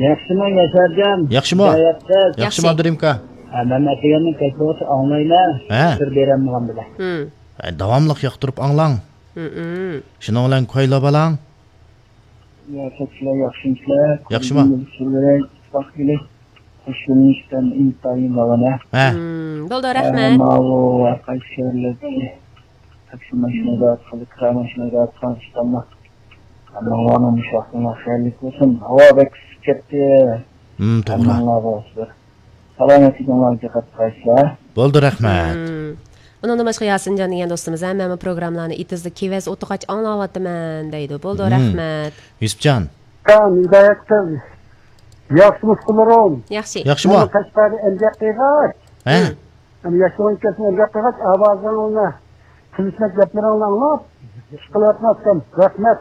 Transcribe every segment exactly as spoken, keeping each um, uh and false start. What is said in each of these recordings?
ياخشىمۇ ياشارجان؟ ياخشىمۇ؟ ھىدايەتسىز. ياخشىمۇ ياخشى. ئابدۇرېھىم ئاكا؟ ھە، مەن ئەتىگەندىن كەچكىچە ئاڭلايمەن. ھە. ئۇچۇر بېرەلمىگەن بىلەن. ھە، داۋاملىق ياقتۇرۇپ ئاڭلاڭ. شۇنىڭ بىلەن كويلا بالاڭ. يا، كەچلەر ياخشىمۇسىلەر؟ ياخشىمۇ؟ كۆرگىنىمىز سۈرۈرەك، ئىتتىپاق كېلىش. خۇش يۆنىلىشتىن ئىنتايىن مانا. ھە. بولدى، رەھمەت. ماۋۇ ھەر قايسى شەھەرلەردىكى تاكسى ماشىنىدا، كىرا ماشىنىدا، ترانسپورتتا. ئەمما ئۇلارنىڭ مۇشۇ ۋاقتىنىڭ خەيرلىك بولسۇن. ھاۋا بەك ئىسسىپ كەتتى. ھىم، توغرا. ھەممىڭلارغا بىر سالامەتلىكىڭلارغا دىققەت قىلىسىلەر. بولدى، رەھمەت. ھىم. ئۇنىڭدىن باشقا ياسىنجان دېگەن دوستىمىز، ھە، مەنمۇ پروگراممىلارنى ئېتىزدا كېۋەز ئولتۇرغاچ ئاڭلاۋاتىمەن دەيدۇ. بولدى، ھىم. رەھمەت. يۈسۈپجان. ھىدايەت قىز. ياخشىمۇ ئۇكىلىرىم؟ ياخشى. ياخشىمۇ؟ مانا قەشقەردە ئەمگەك قىلغاچ. ھە؟ ھىم. ئەمدى ياشلىرىڭ كەلسۇن، ئەمگەك قىلغاچ ئاۋازىڭنى، قىلىشماق گەپلىرىڭنى ئاڭلاپ، ئىش قىلىۋاتماستىن. رەھمەت.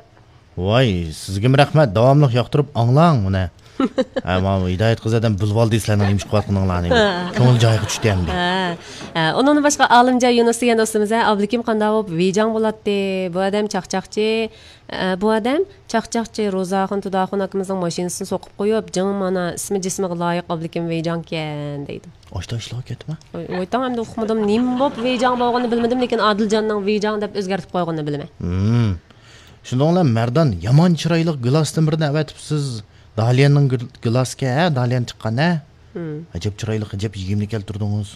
ۋاي، سىزگىمۇ رەھمەت، داۋاملىق ياقتۇرۇپ ئاڭلاڭ ئۇنى. ھە، ماۋۇ ھىدايەت قىز ئادەم بىلىۋالدى سىلەرنىڭ نېمە ئىش قىلىۋاتقىنىڭلارنى. كۆڭلى جايىغا چۈشتى ئەمدى. ھە. ھە، ئۇنىڭدىن باشقا ئالىمجان يۇنۇس دېگەن دوستىمىز، ھە، ئابلىكىم قانداق بولۇپ ۋىجاڭ بولاتتى؟ بۇ ئادەم چاقچاقچى، ئە، بۇ ئادەم چاقچاقچى روزاخۇن تۇداخۇن ئاكىمىزنىڭ ماشىنىسىنى سوقۇپ قويۇپ، جىڭ مانا ئىسمى جىسمىغا لايىق ئابلىكىم ۋىجاڭكەن دەيدۇ. ئاشتا ئىشلار كەتمە. ۋوي، ۋوي، تاڭ ئەمدى ئۇقمىدىم. نېمە بوپ ۋىجاڭ بولغىنىنى بىلمىدىم، لېكىن ئادىلجاننىڭ ۋىجاڭ دەپ ئۆزگەرتىپ قويغىنىنى بىلىمەن. ھىم. شۇنىڭ بىلەن مەردان يامان چىرايلىق گىلاستىن بىرنى ئەۋەتىپسىز. داليەننىڭ گىل-، گىلاسىكەن، ھە، داليەن چىققان، ھە؟ ھىم. ئەجەب چىرايلىق، ئەجەب يېگىملىك كەلتۈردىڭىز.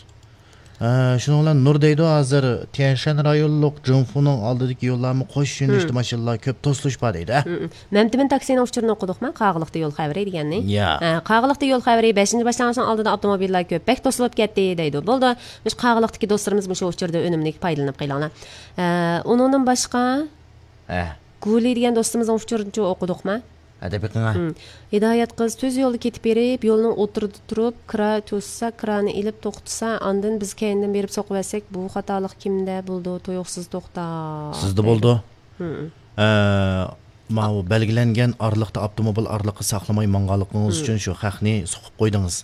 ئە، شۇنىڭ بىلەن نۇر دەيدۇ، ھازىر تيەنشەن رايونلۇق جىڭفۇنىڭ ئالدىدىكى يوللارمۇ قوش يۆنىلىشتە ماشىنىلار كۆپ، توسۇلۇش بار دەيدۇ، ھە؟ مەمتىمىن تاكسىنىڭ ئۇچۇرىنى ئوقۇدۇقما؟ قاغىلىقتا يول خەۋىرى دېگەننى. يا. ھە، قاغىلىقتا يول خەۋىرى، بەشىنچى باشلانغۇچنىڭ ئالدىدا ئاپتوموبىللار كۆپ، بەك توسۇلۇپ كەتتى دەيدۇ. بولدى، مۇشۇ قاغىلىقتىكى دوستلىرىمىز مۇشۇ ئۇچۇردا ئۈنۈملۈك پايدىلىنىپ قېلىڭلار. ھە، ئۇنىڭدىن باشقا، ھە. گۇلى دېگەن دوستىمىزنىڭ ئۇچۇرىنىچۇ ئوقۇدۇقما؟ ھە، دەپ بېقىڭا. ھىم. ھىدايەت قىز تۈز يولدا كېتىپ بېرىپ، يولنىڭ ئوتتۇرىدا تۇرۇپ، كىرا توسسا، كىرانى ئېلىپ توختىسا، ئاندىن بىز كەينىدىن بېرىپ سوقۇۋەتسەك، بۇ خاتالىق كىمدە بولىدۇ؟ تۇيۇقسىز توختاپ سىزدە دەيدۇ. بولىدۇ. ھىم. ئە، ماۋۇ بەلگىلەنگەن ئارىلىقتا ئاپتوموبىل ئارىلىققا ساقلىماي ماڭغانلىقىڭىز ھىم. ئۈچۈن شۇ خەقنى سوقۇپ قويدىڭىز.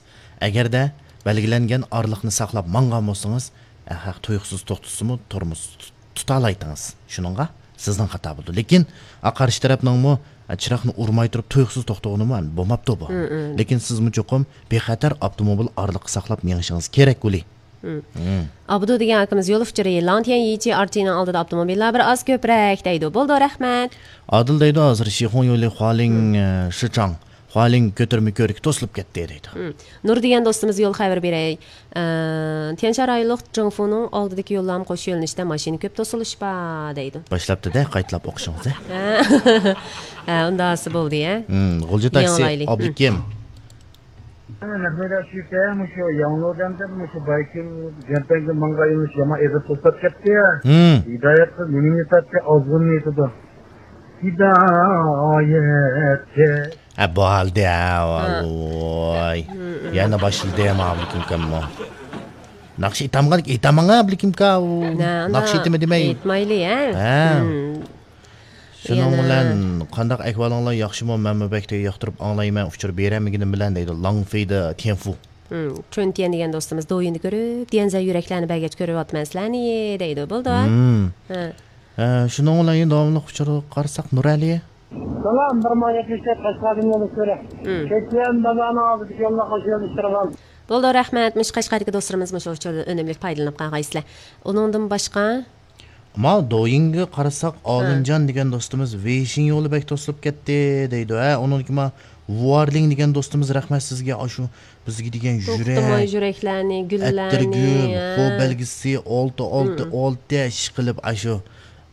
ئەگەردە بەلگىلەنگەن ئارىلىقنى ساقلاپ ماڭغان بولسىڭىز، ئە، خەق تۇيۇقسىز توختىسىمۇ تورمۇز تۇتالايتىڭىز. شۇنىڭغا سىزنىڭ خاتا بولىدۇ. لېكىن، ئا، قارشى تەرەپنىڭمۇ، ئا، چىراغنى ئۇرماي تۇرۇپ تۇيۇقسىز توختىغىنىمۇ بولماپتۇ بۇ. ھىم، ھىم. لېكىن سىزمۇ چوقۇم بىخەتەر ئاپتوموبىل ئارىلىققا ساقلاپ مېڭىشىڭىز كېرەك، گۇلى. ھىم. ھىم. ئابدۇ دېگەن ئاكىمىز يول ئۇچۇرى، لاڭتيەن يىچى ئارچىنىڭ ئالدىدا ئاپتوموبىللار بىر ئاز كۆپرەك دەيدۇ. بولدى، رەھمەت. ئادىل دەيدۇ، ھازىر شىخۇڭ يولى خۇالىڭ، ھىم. ئە، شىچاڭ. خۇالىڭ كۆتۈرمە كۆۋرۈكى توسۇلۇپ كەتتى دەيدۇ. ھىم. نۇر دېگەن دوستىمىز يول خەۋىرى بېرەي. ئە، تيەنشان رايونلۇق جىڭفۇنىڭ ئالدىدىكى يوللارمۇ قوش يۆنىلىشتە ماشىنا كۆپ توسۇلۇش بار دەيدۇ. باشلاپتۇ-دە، قايتىلاپ ئوقۇشىڭىز، ھە؟ ھە، ھە، ئۇنداقسى بولدى، ھە؟ ھىم، غۇلجا تاكسى، يېڭىلايلى. ئابلىكىم. مەھمۇد ئاشۇكە، مۇشۇ ياڭلۇدەن مۇشۇ بايكىل جەنتەڭگە ماڭغان يۆنىلىش يامان ئېغىر توسۇلۇپ كەتتى. ھىم. ھىدايەت قىز نېمىنى تارتتى، ئازغۇننى ئېيتىدۇ. ھىدايەتكە. ھە، بولدى، ھە، ھە. ۋاي. ھىم، ھىم. يەنە باشلىدى، ماۋۇ كىمكەنمۇ؟ ناخشا ئېيتامغان، ئېيتاماڭا، بىلكىمكا، ئۇ. ناخشا ئېيتىمە دېمەي. ئېيتمايلى، ھە؟ ھە. ھىم. شۇنىڭ يەنە بىلەن قانداق ئەھۋالىڭلار، ياخشىمۇ؟ مەنمۇ بەك ياقتۇرۇپ ئاڭلايمەن، ئۇچۇر بېرەلمىگىنىم بىلەن دەيدۇ، لاڭفېيدە تيەنفۇ. ھىم، چۈن تيەن دېگەن دوستىمىز دويىندا كۆرۈپ، ديەنزە يۈرەكلەرنى بەرگەچ كۆرۈۋاتىمەن سىلەرنى دەيدۇ. بولدى. ھىم. ھە. ھە، شۇنىڭ بىلەن يەنە داۋاملىق ئۇچۇرغا قارىساق، نۇرئەلى. سالام، بىر مىڭ يەتمىش تۆت قەشقەردىن يولۇق كۆرە. ھىم. كەچلىكەن بازارنىڭ ئالدىدىكى يولدا قوشۇلۇشتۇرغان. بولدى، رەھمەت. مۇشۇ قەشقەردىكى دوستلىرىمىز مۇشۇ ئۇچۇردىن ئۈنۈملۈك پايدىلىنىپ قالغايسىلەر. ئۇنىڭدىن باشقا؟ ماۋۇ دويىنگە قارىساق، ھە. ئالىمجان دېگەن دوستىمىز ۋېيشىن يولى بەك توسۇلۇپ كەتتى دەيدۇ. ھە، ئۇنىڭدىن كېيىن ماۋۇ ۋۇئارلىڭ دېگەن دوستىمىز، رەھمەت سىزگە، ئاشۇ بىزگە دېگەن يۈرەك، توختىماي يۈرەكلەرنى، گۈللەرنى، ئەتىرگۈل، ھە. خو بەلگىسى، ئالتە، ئالتە، ھىم. ئالتە ئىش قىلىپ، ئاشۇ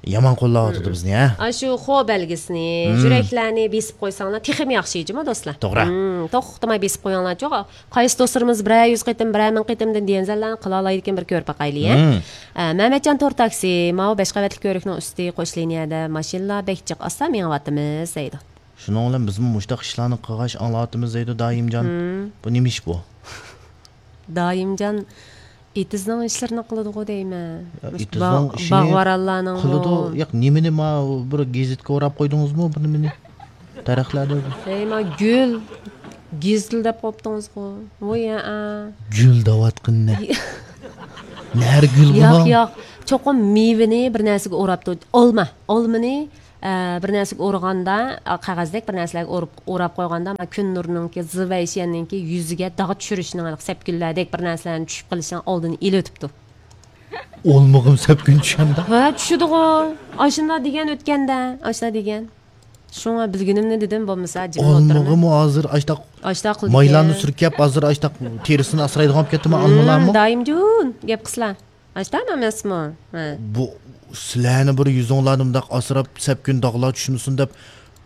يامان قوللاۋاتىدۇ بىزنى، ھە؟ ئاشۇ خو بەلگىسىنى، ھىم. يۈرەكلەرنى بېسىپ قويساڭلار تېخىمۇ ياخشى جۇمۇ دوستلار. توغرا. ھىم، توختىماي بېسىپ قويۇڭلارچۇ. قايسى دوستلىرىمىز بىرەر يۈز قېتىم، بىرەر مىڭ قېتىمدىن دېگەنزەللەرنى قىلالايدىكىن بىر كۆرۈپ باقايلى، ھە؟ ھىم. ئە، مەمەتجان تور تاكسى، ماۋۇ بەش قەۋەتلىك كۆۋرۈكنىڭ ئۈستى قوش لىنىيەدە ماشىنىلار بەك جىق ئاستا مېڭىۋاتىمىز دەيدۇ. شۇنىڭ بىلەن بىزمۇ مۇشۇنداق ئىشلارنى قىلغاچ ئاڭلاۋاتىمىز دەيدۇ دائىمجان. ھىم. بۇ نېمە ئىش بۇ؟ دائىمجان ئېتىزنىڭ ئىشلىرىنى قىلىدىغۇ دەيمەن. يا، مۇشۇ ئېتىزنىڭ باغ-، ئىشىنى باغۋەنلارنىڭ قىلىدۇ. ياق، نېمىنى ما بىر گېزىتكە ئوراپ قويدىڭىزمۇ بۇ نېمىنى؟ دەرەخلەردە. ھەي، ما گۈل، گېزىل دەپ قويۇپتىڭىزغۇ. ۋوي، ھەئە. گۈل دەۋاتقىنى. نەرە گۈل ياق، بۇنىڭ؟ ياق. چوقۇم مېۋىنى بىر نەرسىگە ئوراپتۇ. ئالما، ئالمىنى ئە، بىر نەرسىگە ئۇرغاندا، ئا، قەغەزدەك بىر نەرسىلەرگە ئۇرۇپ، ئوراپ قويغاندا، مانا كۈن نۇرىنىڭكى، زى ۋەيشيەننىڭكى يۈزىگە داغ چۈشۈرۈشنىڭ، ھېلىقى سەپكۈنلەردەك بىر نەرسىلەرنىڭ چۈشۈپ قېلىشىنىڭ ئالدىنى ئېلىۋېتىپتۇ. ئالمىغىمۇ سەپكۈن چۈشەمدۇ؟ ھە، چۈشىدىغۇ. ئاشۇنداق دېگەن ئۆتكەندە، ئاشۇنداق دېگەن. شۇڭا بىلگىنىمنى دېدىم، بولمىسا جىمىپ ئولتۇرىمەن. ئالمىغىمۇ ھازىر ئاشتاق ئاشتاق قىلىدىكەن. مايلارنى سۈركەپ، ھازىر ئاشتاق تېرىسىنى ئاسرايدىغان بولۇپ كەتتىمۇ، ھىم، ئالمىلارمۇ؟ دائىمجان، گەپ قىلسىلا. ئاشتاقمۇ ئەمەسمۇ؟ ھە. بۇ سىلەرنى بىر يۈزۈڭلارنى مۇنداق ئاسراپ، سەپكۈن داغلار چۈشمىسۇن دەپ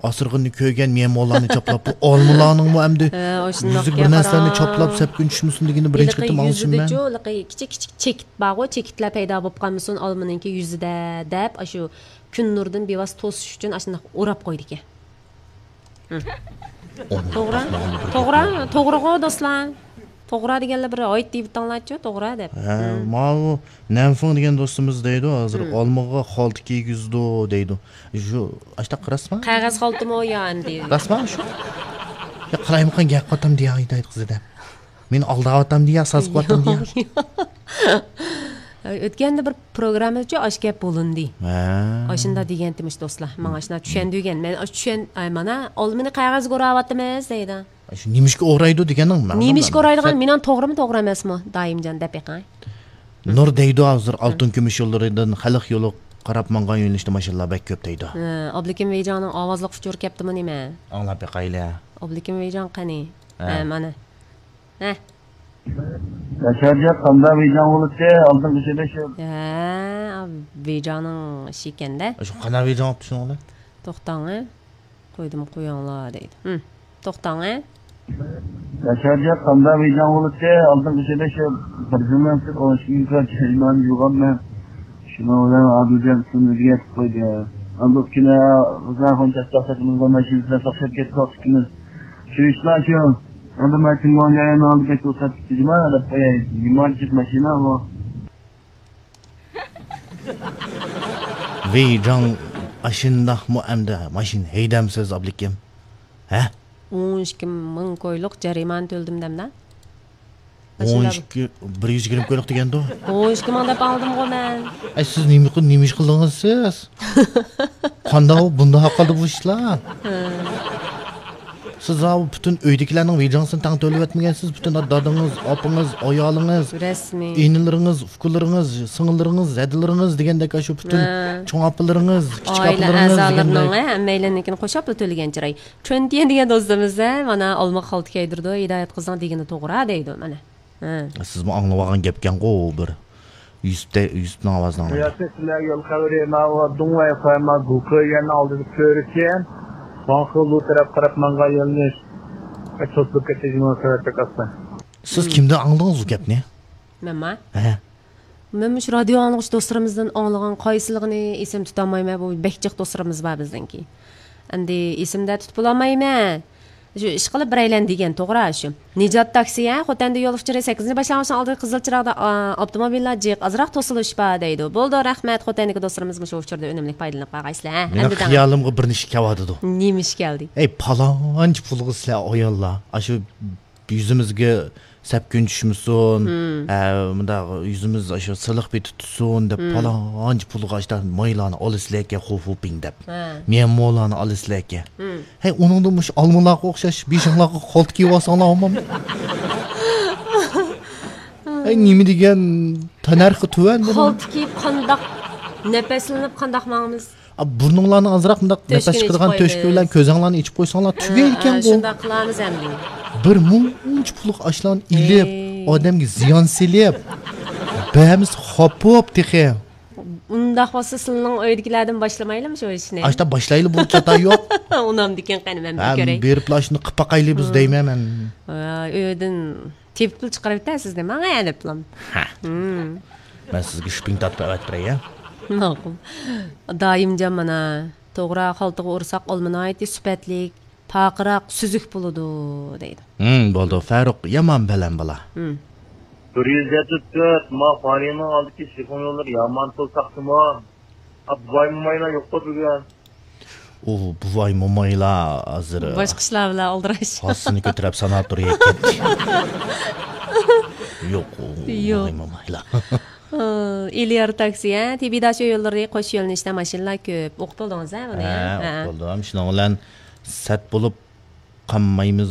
ئاسرىغىنىنى كۆرگەن مېمۇرلارنى چاپلاپتۇ. ئالمىلارنىڭمۇ ئەمدى ھە، ئاشۇنداق يۈزىگە بىر نەرسىلەرنى چاپلاپ، سەپكۈن چۈشمىسۇن دېگىنى بىرىنچى قېتىم ئاڭلىشىم مەن. ھېلىقى يۈزىدىچۇ، ھېلىقى كىچىك كىچىك چېكىت بارغۇ، چېكىتلەر پەيدا بولۇپ قالمىسۇن ئالمىنىڭكى يۈزىدە دەپ، ئاشۇ كۈن نۇرىدىن بىۋاسىتە توسۇش ئۈچۈن ئاشۇنداق ئوراپ قويىدىكەن. ھە. توغرا، توغرا، توغرىغۇ دوستلار. توغرا دېگەنلەر بىر ھايت دېيىۋېتىڭلارچۇ، توغرا دەپ. ھە، ماۋۇ نەنفېڭ دېگەن دوستىمىز دەيدۇ، ھازىر ئالمىغا خالتا كىيگۈزىدۇ دەيدۇ. شۇ ئاشتاق راستمۇ؟ قەغەز خالتىمۇ يا ئەمدى؟ راستمۇ شۇ؟ يا قالايمىقان گەپ قاتام دېيەي دەيدۇ قىزىدا. مېنى ئالداۋاتامدۇ يا سازقىۋاتامدۇ يا؟ ئۆتكەندە بىر پروگراممىدىچۇ ئاش گەپ بولۇندى. ھە. ئاشۇنداق دېگەنتىمىش دوستلار. ماڭا ئاشۇنداق چۈشەندۈرگەن. مەن ئاش چۈشەن-، ئاي، مانا ئالمىنى قەغەزگە ئوراۋاتىمىز دەيدۇ. شۇ نېمىشقا ئورايدۇ دېگەننىڭ مەنىسى نېمىشقا ئورايدىغان، مېنىڭ توغرىمۇ توغرا ئەمەسمۇ؟ دائىمجان دەپ بېقىڭ. نۇر دەيدۇ ھازىر ئالتۇن كۈمۈش يوللىرىدىن خەلق يولىغا قاراپ ماڭغان يۆنىلىشتە ماشىنىلار بەك كۆپ دەيدۇ. ھە، ئابلىكىم ۋېيجاڭنىڭ ئاۋازلىق ئۇچۇرى كەپتىمۇ نېمە؟ ئاڭلاپ بېقايلى. ئابلىكىم ۋېيجاڭ قېنى؟ ھە. ھە، مانا. ھە. ياشارجان، قانداق ۋېيجاڭ بولۇپتۇ؟ ئالدىنقى يىلى شۇ. ھە، ۋېيجاڭنىڭ ئىشى ئىكەندە. شۇ قانداق ۋېيجاڭ بوپتۇ شۇنىڭ بىلەن؟ توختاڭ، ھە. قويدۇم، قويۇڭلار دەيدۇ. ھىم، توختاڭ، ھە. ياشارجان، قانداق ۋېيجاڭ بولۇپتۇ؟ ئالدىنقى يىلى شۇ بىر يىلدىن سىرت ئون ئىككى كۈن جەرىمانە يۇغانمەن. شۇنىڭ بىلەن ئادىلجان ئىسمىنى ئۆزگەرتىپ قويدى. ئەمدى ئۇ كۈنى غىزاخۇن چاستاق سېتىمىزغا ماشىنا بىلەن توختاپ كەتتۇق ئىككىمىز. شۇ ئىشلار شۇ. ئەمدى مەن تىڭگوڭجاينىڭ ئالدى بەك توساتتى جۇما دەپ قوياي. نېمانچە ماشىنا بۇ؟ ۋېيجاڭ ئاشۇنداقمۇ ئەمدى ماشىنا ھەيدەمسىز ئابلىكىم؟ ھە؟ ئون ئىككى مىڭ كويلۇق جەرىمانە تۆلىدىم دەمدە. ئون ئىككى، بىر يۈز يىگىرمە كويلۇق دېگەندۇ؟ ئون ئىككى مىڭ دەپ ئالدىمغۇ مەن. ئەي، سىز نېمە قىل-، نېمە ئىش قىلدىڭىز سىز؟ قانداق بۇنداق قالدى بۇ ئىشلار؟ ھە. سىز ھاۋۇ پۈتۈن ئۆيدىكىلەرنىڭ ۋېيجاڭسىنى تەڭ تۆلىۋەتمىگەنسىز، پۈتۈن دادىڭىز، ئاپىڭىز، ئايالىڭىز، رەسمىي. ئىنىلىرىڭىز، ئۇكىلىرىڭىز، سىڭىللىرىڭىز، ھەدىلىرىڭىز دېگەندەك، شۇ پۈتۈن ھە. چوڭ ئاپىلىرىڭىز، كىچىك ئائىلە ئاپىلىرىڭىز ئەزالىرىنىڭ دېگەندەك. ھە، ھەممەيلەننىڭكىنى قوشۇپلا تۆلىگەن چىراي. چۈەنتيەن دېگەن دوستىمىز، ھە، مانا ئالما خالتا كىيدۈرىدۇ، ھىدايەت قىزنىڭ دېگىنى توغرا دەيدۇ، مانا. ھە. سىزمۇ ئاڭلىۋالغان گەپكەنغۇ بىر يۈسۈپتە-، يۈسۈپنىڭ ئاۋازىنى ئاڭلاپ. ياسىن، سىلەرگە يول خەۋىرى، ماۋۇ دۇڭۋەي خۇەيما گۇكېيەننىڭ ئالدىدا كۆرۈشكەن. ۋاڭخېلۇ تەرەپ قاراپ ماڭغان يۆنىلىش. توسۇلۇپ كەتتى، جۇمۇ سەۋەبلىك ئاستا. سىز كىمدىن ئاڭلىدىڭىز بۇ گەپنى؟ مەنما؟ ھە. مەن مۇشۇ رادىيو ئاڭلىغۇچى دوستلىرىمىزدىن ئاڭلىغان، قايسىلىقىنى ئېسىمدە تۇتالمايمەن، بۇ بەك جىق دوستلىرىمىز بار بىزنىڭكى. ئەمدى ئېسىمدە تۇتۇپ بولالمايمەن. شۇ ئىشقىلىپ بىرەيلەن دېگەن توغرا شۇ. نىجات تاكسى، ھە، خوتەندە يول ئۇچۇرى سەككىزىنچى باشلانغۇچنىڭ ئالدىدا قىزىل چىراغدا، ئا، ئاپتوموبىللار جىق، ئازراق توسۇلۇش بار دەيدۇ. بولىدۇ، رەھمەت، خوتەندىكى دوستلىرىمىز مۇشۇ ئۇچۇردا ئۈنۈملۈك پايدىلىنىپ قالغايسىلەر، ھە. مېنىڭ خىيالىمغا بىر نېمە ئىش كەلدى. نېمە ئىش كەلدى؟ ئەي، پالانچە پۇلغا سىلەر ئاياللار، ئاشۇ يۈزىمىزگە سەپكۈن چۈشمىسۇن، ھە، مۇنداق يۈزىمىز ئاشۇ سىلىق پېتى تۇتسۇن دەپ، پالانچە پۇلغا ئاشۇنداق مايلارنى ئالىسىلەركەن، خۇفۇپىڭ دەپ، ھە. ميەنمولارنى ئالىسىلەركەن. ھەي، ئۇنىڭدا مۇشۇ ئالمىلارغا ئوخشاش بېشىڭلارغا خالتا كىيىۋالساڭلار بولمامدۇ؟ ھەي، نېمە دېگەن تەننەرخى تۆۋەن بۇنىڭ. خالتا كىيىپ قانداق نەپەسلىنىپ قانداق ماڭىمىز؟ ئا، بۇرنۇڭلارنى ئازراق مۇنداق نەپەس چىقىدىغان تۆشۈكى بىلەن كۆزەڭلارنى ئېچىپ قويساڭلار تۈگەيدىكەنغۇ. شۇنداق قىلارمىز ئەمدى. بىر مۇنچە پۇللۇق ئاشلارنى ئېلىپ، ئادەمگە زىيان سېلىپ، بەرمىسە خاپا بوپ تېخى. ئۇنداق بولسا سىلىنىڭ ئۆيدىكىلەردىن باشلىمايلىمۇ شۇ ئىشنى؟ ئاشتا باشلايلى، بۇ چاتا يوق. ئۇنامدىكەن قېنى، مەن بىر كۆرەي. بېرىپلا ئاشۇنى قىلىپ باقايلى بىز دەيمەن مەن. ھە، ئۆيدىن تېپىپلا چىقىرىۋېتە سىزنى، ماڭا دەپلا. ھە. مەن سىزگە شپىڭ تارتىپ ئەۋەتىپ بېرەي، ھە؟ ماقۇل. دائىمجان مانا، توغرا، خالتىغا ئۇرساق ئالما ناھايىتى سۈپەتلىك، پارقىراق، سۈزۈك بولىدۇ، دەيدۇ. ھىم، بولدى، فاروق يامان بەلەن بالا. ھىم. بىر يۈز يەتتە تۆت، ما فارىنىڭ ئالدىدىكى شىفون يوللىرى يامان توساتتىمۇ؟ ئا، بۇۋاي مومايلار يوققۇ بۈگۈن. ئۇ بۇۋاي مومايلار ھازىر باشقا ئىشلار بىلەن ئالدىراش. ھاسىسىنى كۆتۈرۈپ ساناتورىيەگە كەتتى. يوق، ئۇ يوق. بۇۋاي مومايلار. ئىلىيار تاكسى، ھە؟ تىبىداش يوللىرى قوش يۆنىلىشتە ماشىنىلار كۆپ. ئوقۇپ بولدىڭىز، ھە، بۇنى؟ ھە، ھە، ئوقۇپ بولدۇم. شۇنىڭ بىلەن سەت بولۇپ قالمايمىز